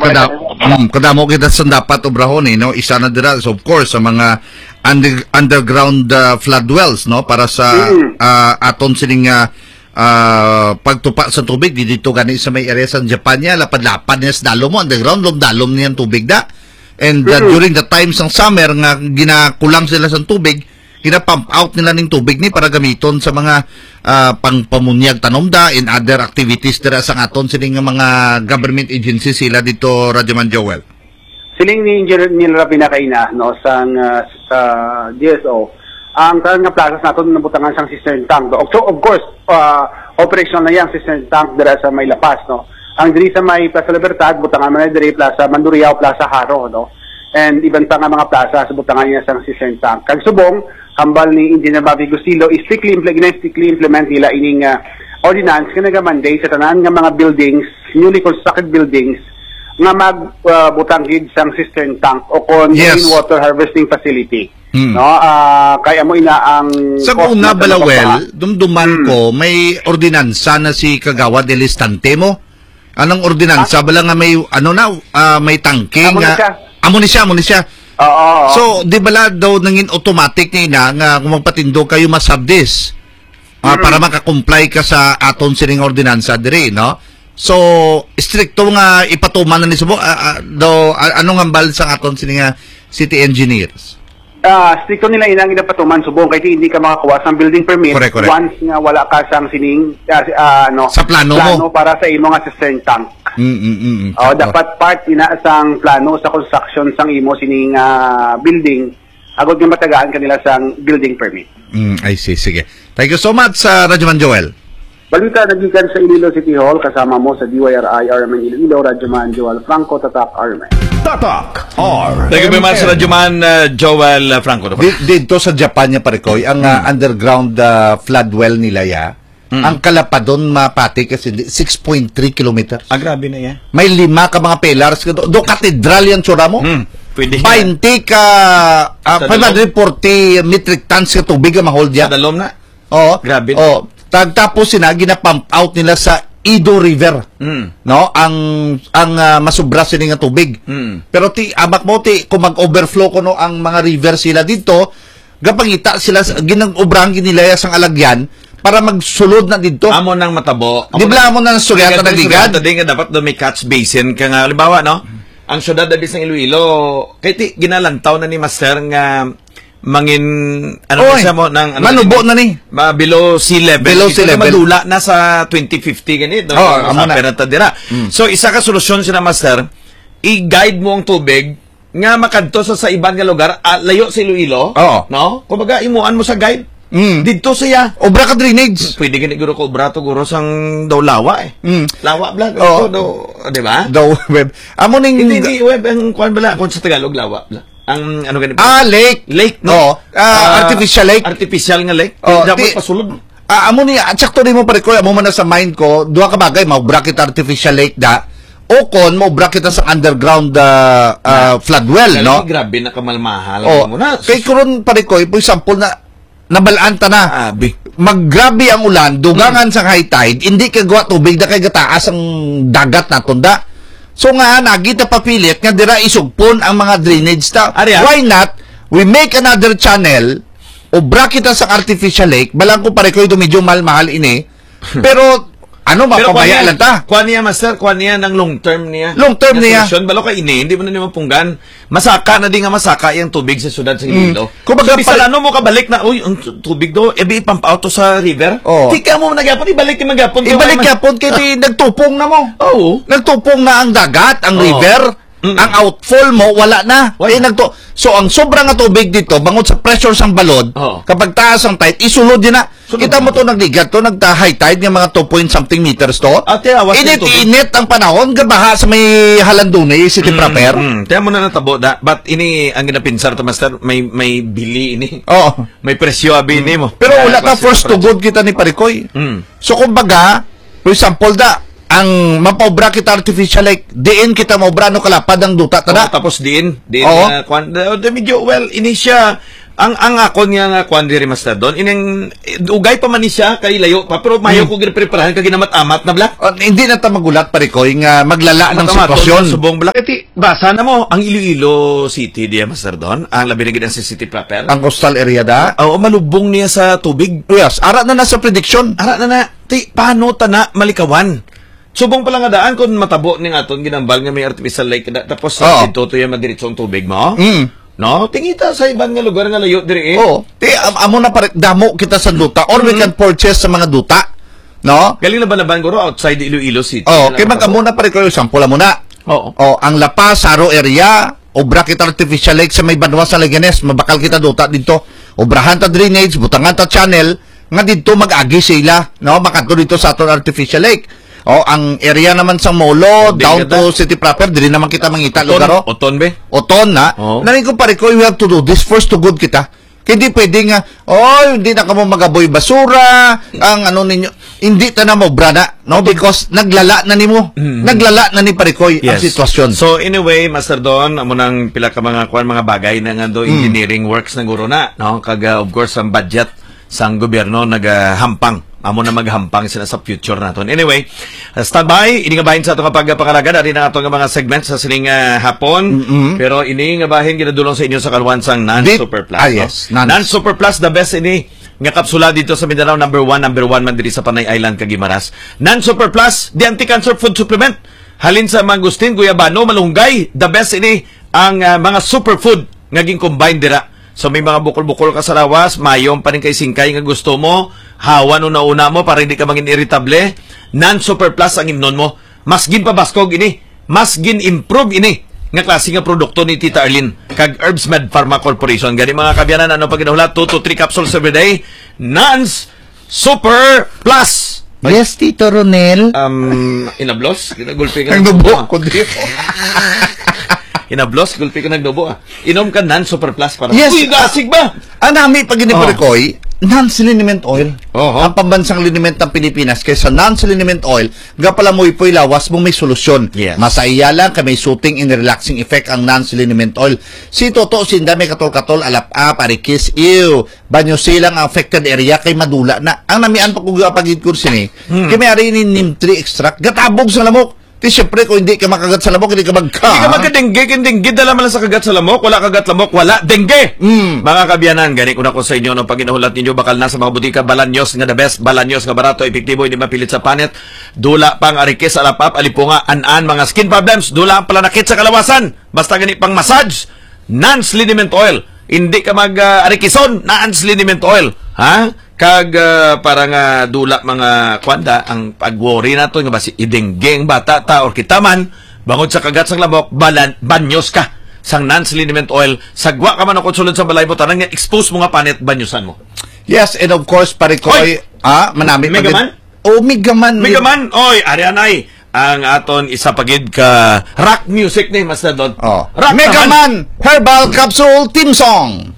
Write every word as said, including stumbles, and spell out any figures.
Kada, mm, kadamo kita sa dapat obrahon, eh, no? Isa na dira, so of course, sa mga under-, underground, ah, flood wells, no? Para sa, Mm. ah, aton sining, ah, ah, pagtupa sa tubig, di dito gani sa may area sa Japan niya, lapad-lapad niya sa dalom mo, underground, lom-dalom niya ang tubig da. And, ah, Mm. during the time sang summer nga ginakulang sila sa tubig, gina-pump out nila ning tubig ni para gamiton sa mga, ah, pangpamunyag tanom da and other activities dira sa aton sini nga mga government agency sila dito, Radyoman Joel. Siling ni Engineer Neil Rabina kaina, no, sang, ah, sa D S O, ang tanan nga plazas naton nabutangan sang cistern tank. Of, of course, ah, operational na yang cistern tank dira sa may La Paz, no. Ang diri sa may Plaza Libertad, butangan man na diri Plaza Mandurriao, Plaza Jaro, no. And iban pa nga mga plaza sa butangan niya sang cistern tank. Kag subong, hambal ni Engineer Bobby Gustilo, strictly imple-, gina-strictly implement nila ining, ah, ordinance nga naga-mandate sa tanan nga mga buildings, newly constructed buildings, nga mag, ah, butang gid sang cistern tank o kon Yes. rainwater harvesting facility. Hmm. No? Ah, kay amo ina ang Sa cost una, na sa Balawel, mapapa- dumduman Hmm. ko, may ordinansa na si Kagawad Elistante mo. Anong ordinansa? Ah. Bala nga may, ano na, ah, may tangke Amo na nga siya. Amo ni siya, amo ni siya. Oo, oo. So, di bala daw nangin automatic ni ina nga kung magpatindog kayo, masabdis? Ah, Hmm. para makakomply ka sa aton sining ordinansa diri, no? So, stricto nga ipatuman na ni subong, ah, ah, daw, ah, anong hambal sa aton sini nga city engineers? Ah, stricto nila ina nga ginapatuman subong kay hindi ka makakuha sang building permit Correct, correct. once nga wala ka sang sining, ah, si-, ah, ano, Sa plano mo. plano para sa imo nga cistern tank. Mm, mm, mm. Oh, Sakto. dapat part ina sang plano sa construction sang imo sining, ah, building agod nga matagaan kanila sang building permit. Mm, I see. Sige. Thank you so much, ah, Radyoman Joel. Balita nagikan sa Iloilo City Hall, kasama mo sa D Y R I R M N Iloilo, Radyoman Joel Franco, Tatak R M N. Tatak R M N. Thank you very much, Radyoman, uh, Joel, uh, Franco. Di-, dito sa Japan niya, pare ko, ang, uh, Mm. underground, uh, flood well nila, ya, Mm. ang kalapadon mapati kasi di-, six point three kilometers. Ah, grabe na yan. May lima ka mga pillars, do, do katedral yan, tsura mo. Mm. Pwede yan. Bainte ka, ah, Sa five hundred forty metric tons ka tubig ang ma-hold Sa yan. dalom na. Oo. Grabe. Oh, tag-, tapos sina gina-pump out nila sa Edo River. Mm. No, ang, ang, ah, masubra sini nga tubig. Mm. Pero ti, amak mo ti, kung mag-overflow kuno ang mga river sila dito, gapangita sila sa, ginag-obrahan gid nila sang alagyan para magsulod na dito. Amo nang matabo. Di ba amo nang istorya ta nagligad? Istorya ta din nga dapat do may catch basin ka nga, halimbawa, no? Ang syudad na bisang Iloilo, kay ti, ginalantaw na ni Master nga mangin, ano Oy, na siya mo, nang, ano manubo na ni. Ma-, below sea level. Below sea level. Madula na sa twenty fifty ganito. Oh, amo na. Masapir na ta dira. Mm. So, isa ka solusyon sila, Master, i-guide mo ang tubig nga makadto sa, sa iban nga lugar, ah, layo sa Iloilo. Oo. No? Kumbaga, imuan mo sa guide. Mm. Didto siya. Obra ka drainage. Pwede gani guro ko obra to, guro sang daw lawa eh. Mm. Lawa bla, Oo. Ito daw, di ba? Daw web. Amo ning Hindi, hindi web ang kuan bala, kung sa Tagalog, lawa bla. Ang ano gani? Ah, lake. Lake, no? Oo. Ah, Ah, artificial lake. Artificial nga lake. Oh, Dapat ti- pasulod. Ah, amo ni, at sakto din mo, pare ko, amo man na sa mind ko, duha ka bagay, maubra kita artificial lake da, o kon maubra kita sa underground, ah, ah, flood well, Grabe, no? Grabe na kamalmahal Oh, mo na. Kay karon, pare ko, for example na, nabalaan ta na. Abi. Maggrabe ang ulan, dugangan Hmm. sa high tide, hindi kay gawa tubig na kay gataas ang dagat naton da. So nga, nagita papilit nga dira isugpon ang mga drainage ta. Ari, ah. Why not? We make another channel, obra kita sa artificial lake, balang ko pare ko ito medyo mahal-mahal ini, pero ano, Pero mapabaya kuwan niya, lang ta. Kuwan niya, master, kuwan niya ng long term niya. Long term Na niya. Solusyon, balo ka ini, hindi mo na naman punggan. Masaka na di nga masaka yung tubig sa syudad sa Mm. Iloilo. Kumbaga, So, bisan pare- ano mo kabalik na, "Uy, ang tu-, tubig do, ebi ipampaw to sa river." Oh. Di ka mo nagyapon, ibalik yung magyapon. Ibalik Kaya man- yapon, kay di nagtupong na mo. Oo. Nagtupong na ang dagat, ang Oo. river, Mm. ang outfall mo, wala na. Wala. Eh, nagtu-, so, ang sobra nga tubig dito, bangod sa pressure sang balod, Oo. kapag taas ang tide, isulod din na. Sunod Kita mo na. To, nagligat to, nagta-high tide nga mga two point something meters to. Ate, awas yung tubig. Init-init ang panahon, gabaha sa may Halandunay City Mm, proper. Mm. Kaya mo na natabo, da, but ini, ang ginapinsar to, master, may, may bili ini. Oo. May presyo abi Mm. ini mo. Pero Kaya wala ka kasi first to presyo. Good kita ni Parikoy. Mm. So, kumbaga, for example, da, ang mapaobra kita artificial lake, diin kita maobra, no, kalapad ang duta, tada. Oo, tapos diin, diin Oo. na, kwan, da, da, medyo, well, ini siya, Ang, ang akon nga, nga kwan diri, Master Don, ining, eh, ugay pa man ni siya, kay layo pa, pero mayo Hmm. ko ginapreparahan kay ginamat-amat na bala. Oh, hindi na ta magulat, pare ko, nga maglala ng Amat-amat, sitwasyon. Subong bala. Kati, basa na mo, ang Iloilo City diya, Master Don, ang labi na gid ang city proper. Ang coastal area da? Oo, malubong niya sa tubig. Yes, ara na na sa prediction. Ara na na. Ti, paano ta na malikawan? Subong pala nga daan kung matabo ning aton ginambal nga may artificial lake da, tapos sa Oo. dito to yung madiritso ang tubig mo? Mm. No? Tingita sa iban nga lugar nga layo diri eh. Oo. Ti, am-, amo na pare, damo kita sa duta. Or we Mm. can purchase sa mga duta. No? Galing na ba na ba, guro, outside Iloilo City? Oo, Na kay lang mag-amo matabo? na pare ko, sample mo na. Oo. Oh, ang La Paz, Jaro area, obra kita artificial lake sa may banwa sa Leganes, mabakal kita duta dito. Obrahan ta drainage, butangan ta channel, nga dito mag-agi sila, no? Makadto dito sa aton artificial lake. Oh, ang area naman sa Molo, Hindi down kita. to city proper, dili naman kita mangita Oton, lugar, oh. Oton, be? Oton na. Oo. Nani ko pare ko, we have to do this first to good kita. Kay di pwede nga, "Oh, hindi na kamo magaboy basura, ang ano ninyo." Hindi ta na maubra na, no? Oton. Because naglala na nimo. Mm. Naglala na ni pare ko ang Yes. sitwasyon. So anyway, Master Don, amo nang pila ka mga kuan, mga bagay na nga do Mm. engineering works na guro na, no? Kag, ah, of course, ang budget sang gobyerno nagahampang. Amo na maghampang sila sa future naton. Anyway, uh, standby. Ini nga bahin sa ato nga pagpangalagad. Ari na ato nga mga segment sa sining, uh, hapon. Mm-mm. Pero ini nga bahin ginadulong sa inyo sa kaluhan sang Nan Bit- Super Plus, Ah, no? yes, Nan. Nan Super Plus, the best ini nga kapsula dito sa Mindanao. Number one, number one man diri sa Panay Island, kag Guimaras. Nan Super Plus, the anti-cancer food supplement. Halin sa mangustin, guyabano, malunggay, the best ini ang, uh, mga superfood nga gin-combine dira. So, may mga bukol-bukol ka sa lawas, mayong paningkay-singkay nga gusto mo, hawan una-una mo para hindi ka mangin iritable, Nan Super Plus ang imnon mo. Mas ginpabaskog ini, mas gin-improve ini nga klase nga produkto ni Tita Arlene kag Herbs Med Pharma Corporation. Gani, mga kabyanan, ano pag ginahulat? Two to three capsules every day. Nans Super Plus. Yes, Tito Ronel. Um, inablos? Ginagulpi ka Ang ng dubo dubo, ah. ko di. Inablos, gulpi ka ng dubo, ah. Inom ka Nan Super Plus para Yes. Uy, gasig ba? Ang nami pag Oh. giniparekoy, Nan's liniment oil. Oho. Ang pambansang liniment ng Pilipinas kaysa Nan's liniment oil, gapalamoy-poy lawas mo may solusyon. Yes. Masaya lang kay may soothing and relaxing effect ang Nan's liniment oil. Si Toto, sinda may katol-katol, alap-ap, arikis, ew. Banyo silang affected area kay madula na. Ang namian pa ko gapagid ko sini, Hmm. kay may ari ni neem tree extract, gatabog sa lamok. Ti, syempre, kung hindi ka makagat sa lamok, hindi ka magka- Hindi ka magka-dengue, kay dengue, dala man lang sa kagat sa lamok, wala kagat lamok, wala dengue. Mm. Mga kabyanan, gani ko na ko sa inyo, no, pag inahulat ninyo, bakal na sa mga butika, Balanyos nga the best, Balanyos nga barato, epektibo, hindi mapilit sa panit, dula pang arikis, alap-ap, alipunga, an-an, mga skin problems, dula ang palanakit sa kalawasan, basta gani pang massage, Nans Liniment Oil. Hindi ka mag, ah, arikison, Nans Liniment Oil. Ha? Kag, ah, para nga dula mga kwanda, ang pag-worry nato nga basi idengge ang bata ta or kita man, bangod sa kagat sang lamok, balan-, banyos ka sang Nans Liniment Oil. Sagwa ka man o kung sulod sa balay mo, tanan nga expose mo nga panit, banyusan mo. Yes, and of course, pare ko, Oy! ay, ah, manami Mega pagid- Man? Oh, Mega Man. Mega Man, oy, ari anay. Ang aton isa pa gid ka rock music ni Master Don. Oh. Rock Mega naman. Man Herbal Capsule Theme Song.